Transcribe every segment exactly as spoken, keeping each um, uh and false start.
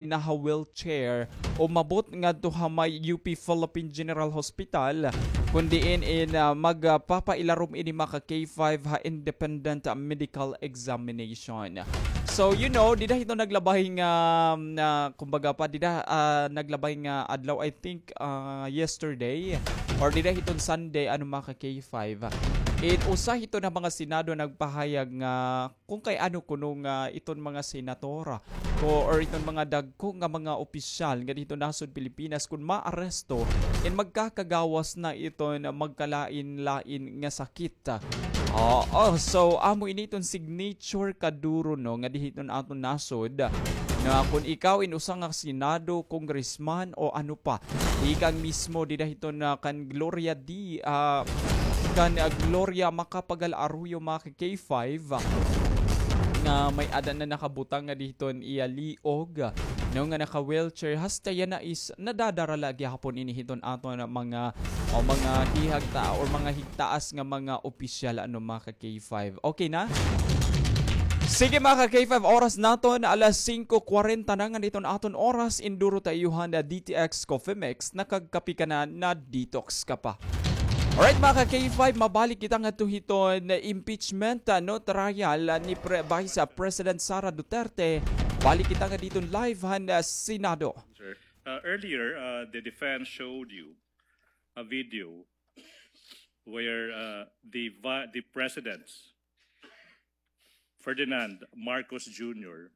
naha-wheelchair, umabot ngadto ha may U P Philippine General Hospital, kun diin in, ah, magpapailarom ini, mga ka-K five, ha independent, ah, medical examination. So, you know, dida hiton naglabay nga, ah, kumbaga pa, dida, ah, naglabay nga adlaw, I think, ah, yesterday, or dida hiton Sunday, ano, mga ka-K five. In usa hiton nga mga Senado nagpahayag nga kung kay ano kuno nga iton mga senator ko, or iton mga dagko nga mga opisyal nga didto nasod Pilipinas kun maaresto, in magkakagawas na iton magkalain-lain nga sakit. Oo, so amo ini iton signature kaduro, no, nga dida hiton aton nasod, nga kun ikaw in usa nga senado, congressman o ano pa, tikang mismo dida hiton na kan Gloria D, ah, kan, ah, Gloria Macapagal Arroyo, mga K five, ah, nga may-ada na nakabutang nga didto an iya liog, no, nga naka-wheelchair. Hasta yana is nadadara la gihapon ini hiton aton mga, o mga hihagta or mga higtaas nga mga opisyal, ano, mga ka-K five. Okay na? Sige, mga ka-K five, oras naton alas singko kwarenta na nga hiton aton oras. Induro ta iyo han D T X Coffee Mix, nakagkape ka na, na-detox ka pa. Alright, mga ka-K five, mabalik kita ngadto hiton impeachment, ah, no, trial, ah, ni Pre-, Vice, ah, President Sara Duterte. Balik kita ngadto live han, ah, Senado. Sir, uh, earlier, uh, the defense showed you a video where, uh, the vi-, the presidents Ferdinand Marcos Junior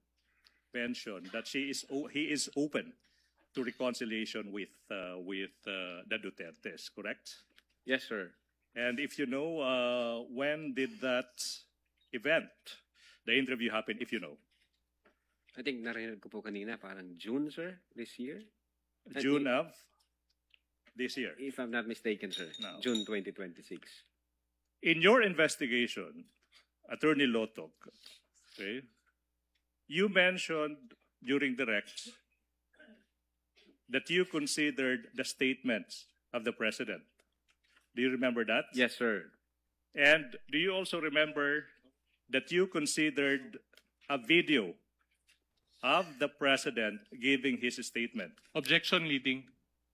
mentioned that she is o-, he is open to reconciliation with, uh, with, uh, the Dutertes, correct? Yes, sir. And if you know, uh, when did that event, the interview happen, if you know? I think narinig ko po kanina, parang June, sir, this year. I June think of this year? If I'm not mistaken, sir. No. June twenty twenty-six. In your investigation, Attorney Lotoc, okay, you mentioned during direct that you considered the statements of the president. Do you remember that? Yes, sir. And do you also remember that you considered a video of the president giving his statement? Objection, leading.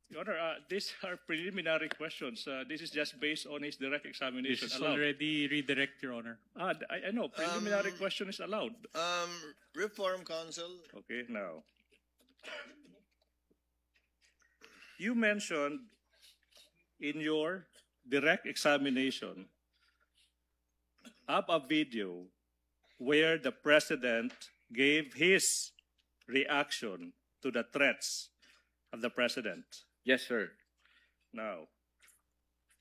Your Honor, uh, these are preliminary questions. Uh, this is just based on his direct examination alone. This is already redirect, Your Honor. Ah, d-, I, I know, preliminary question is allowed. Um, reform counsel. Okay, now. You mentioned in your direct examination of a video where the president gave his reaction to the threats of the president. Yes, sir. Now,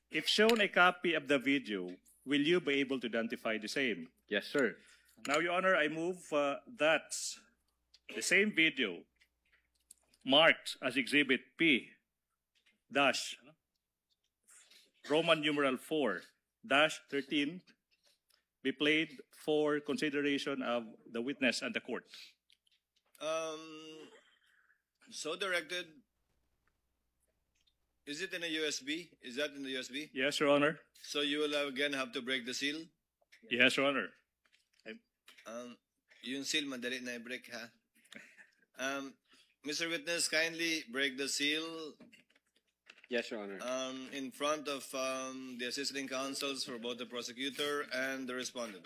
if shown a copy of the video, will you be able to identify the same? Yes, sir. Now, Your Honor, I move, uh, that the same video marked as Exhibit P dash Roman numeral four dash thirteen be played for consideration of the witness and the court. Um, so directed. Is it in a U S B? Is that in the U S B? Yes, Your Honor. So you will again have to break the seal? Yes, Your Honor. Um, yung seal, madali na i-break, ha? Um, Mister Witness, kindly break the seal. Yes, Your Honor. Um, in front of, um, the assisting counsels for both the prosecutor and the respondent.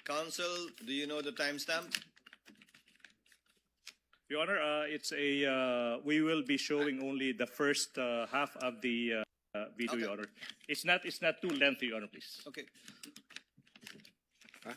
Counsel, do you know the timestamp? Your Honor, uh, it's a, uh, we will be showing only the first, uh, half of the, uh, uh, video, Your Honor. Okay. It's not, it's not too lengthy, Your Honor, please. Okay. Huh?